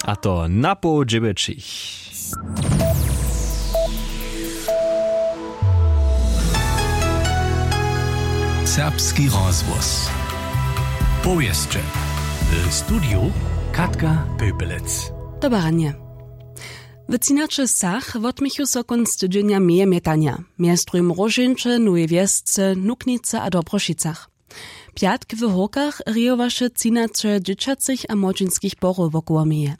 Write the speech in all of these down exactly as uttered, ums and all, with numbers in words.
A to na poł dźewjećich. Serbski rozhłos. Powěsće. W studiju Katka Pepelec. Dobre ranje. W třinaće wsach wotměchu so kónc tydźenja meje mjetanja, mjez druhim w Róžeńće, Nowej Wjesce, Nuknicy a Dobrošicach. Pjatk w Hórkach rejowaše třinaće dźěćacych a młodźinskich porow wokoło meje.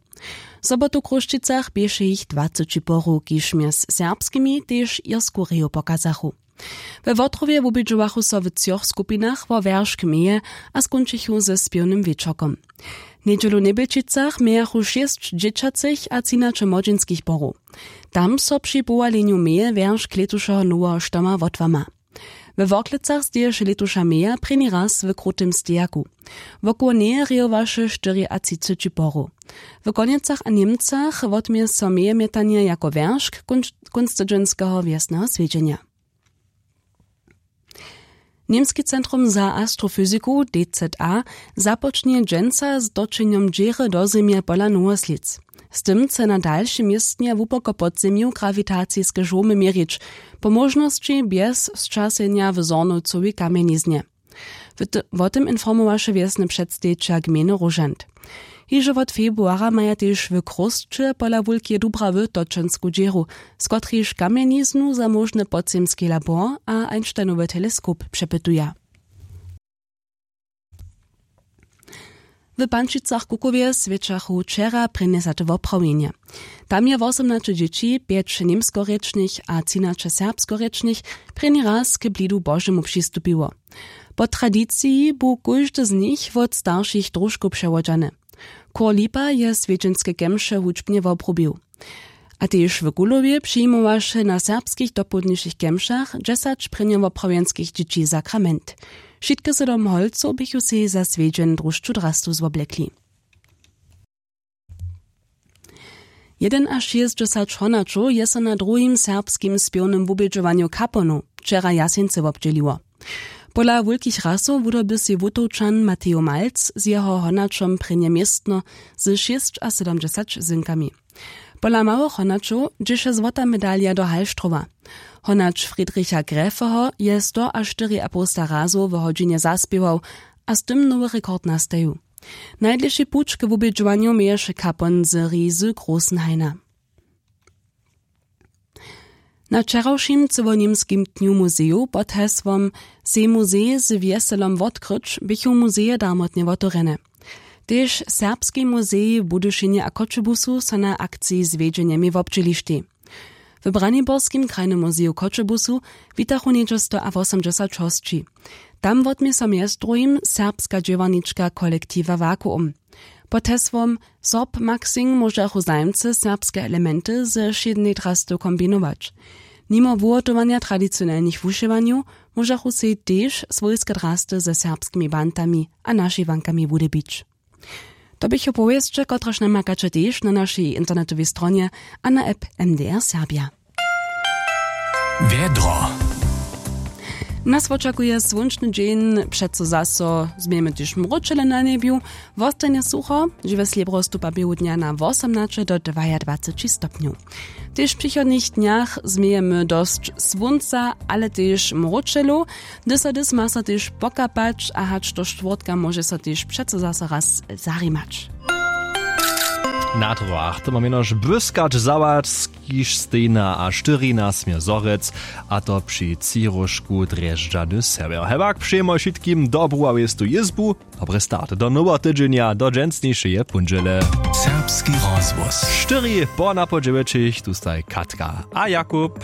W sobotu w Chrósćicach běše jich dwaceći porow, kiž mjez serbskimi tež irsku reju pokazachu. We Wotrowje wubědźowachu so w třoch skupinach wo wjeršk meje a skónčichu ze spěwnym wječorkom. Njedźelu w Njebjelčicach mějachu šěsć dźěćacych a třinaće młodźinskich porow. Tam so při powalenju meje wjeršk lětušeho noweho štoma wotłama. We Worklecach steješe lětuša meja prěni raz w krutym stejaku. Wokoło njeje rejowaše štyriatřiceći porow. W Konjecach a Němcach wotmě so meje mjetanje jako wjeršk kónc-, kónc tydźenskeho wjesneho swjedźenja. Němski centrum za astrofyziku, D Z A, započnje dźensa z točenjom dźěry do Zemje pola Nowoslědz. Z tym chce na dalšim městnje hłuboko pod zemju grawitaciske žłomy měrić, po móžnosći bjez sćasenja w Zornowcowej kamjeniznje. W t-, wo tym informowaše wjesny předstejićel gmejny Róžant. Hižo wot februara maja tež w Chrósće pola Wulkeje Dubrawy točensku dźěru, z kotrejž kamjeniznu za móžny podzemski labor a Einsteinowy teleskop přepytuja. W Pančicach-Kukowje swjećachu wčera prěnjesate woprawjenje. Tam je wosomnaće dźěći, pjeć němskorěčnych a třinaće serbskorěčnych, prěni raz k blidu Božemu přistupiło. Po tradiciji bu kóždy z nich wot staršich družkow přewodźany. Chór Lipa je swjedźenske kemše hudźbnje wobrubił. A tež w Kulowje přijimowaše na serbskich dopołdnišich kemšach dźesać prěnjowoprawjenskich dźěći sakrament. Wšitke sydom holcow běchu sej za swjedźeń drušću drastu zwoblekli. Jedynašěsćdźesać honaćow je so na druhim serbskim spěwnym wubědźowanju Kaponow wčera w Jaseńcy wobdźěliło. Pola wulkich rasow wudoby sej Wutowčan Matejo Malc z jeho honaćom prěnje městno z šěsćasydomdźesać zynkami. Pola małych honaćow dźěše złota medalija do Hallstrowa. Honać Friedricha Gräfeho je stoaštyriapołsta razow w hodźinje zaspěwał a z tym nowy rekord nastajił. Najdlěši puć k wubědźowanju měješe Kapon z Rizy Großenhaina. Na wčerawšim cyłoněmskim dnju muzejow pod hesłom „Sej muzej z wjeselom wotkryć“ běchu muzeje darmotnje wotewrjene. Tež Serbski muzej w Budyšinje a Choćebuzu so na akciji zwjedźenjemi wobdźělištej. W Braniborskim krajnym muzeju w Choćebuzu witachu něhdźe stoawosomdźesać hosći. Tam wotmě so mjez druhim serbska dźěłarnička kolektiwa Vakuum. Pod hesłom „Sorb Maxing“ móžachu zajimcy serbske elementy ze wšědnej drasty kombinować. Nimo wuhotowanja tradicionelnych wušěwanjow móžachu sej tež swójske drasty ze serbskimi bantami a našiwankami wudyrbić. To běchu powěsće, kotrež namakaće tež na našej internetowej stronje a na app M D R Serbja. Wjedro. Nas wočakuje słónčny dźeń, přeco zaso změjemy tež mróčele na njebju. Wostanje sucho, žiwjesle brostupa běhu dnja na wosomnaće do dwajadwaceći stopnjow. Tež w přichodnych dnjach změjemy dosć słónca, ale tež mróčelow. Hdyž so hdyž ma so tež pokapać a hač do štwórtka móže so tež přeco zaso raz zarimać. Na druhach to mam jenož błyskać za was, kiž stejna a štyrina smě zhorjec, a to při třiróžku drježdźany sewjer. Hewak přejemy wšitkim dobru a wěstu jězbu, dobry start do noweho tydźenja, do dźensnišeje póndźele. Serbski rozhłos. Štyri po napoł dźewjećich, tu staj Katka a Jakub.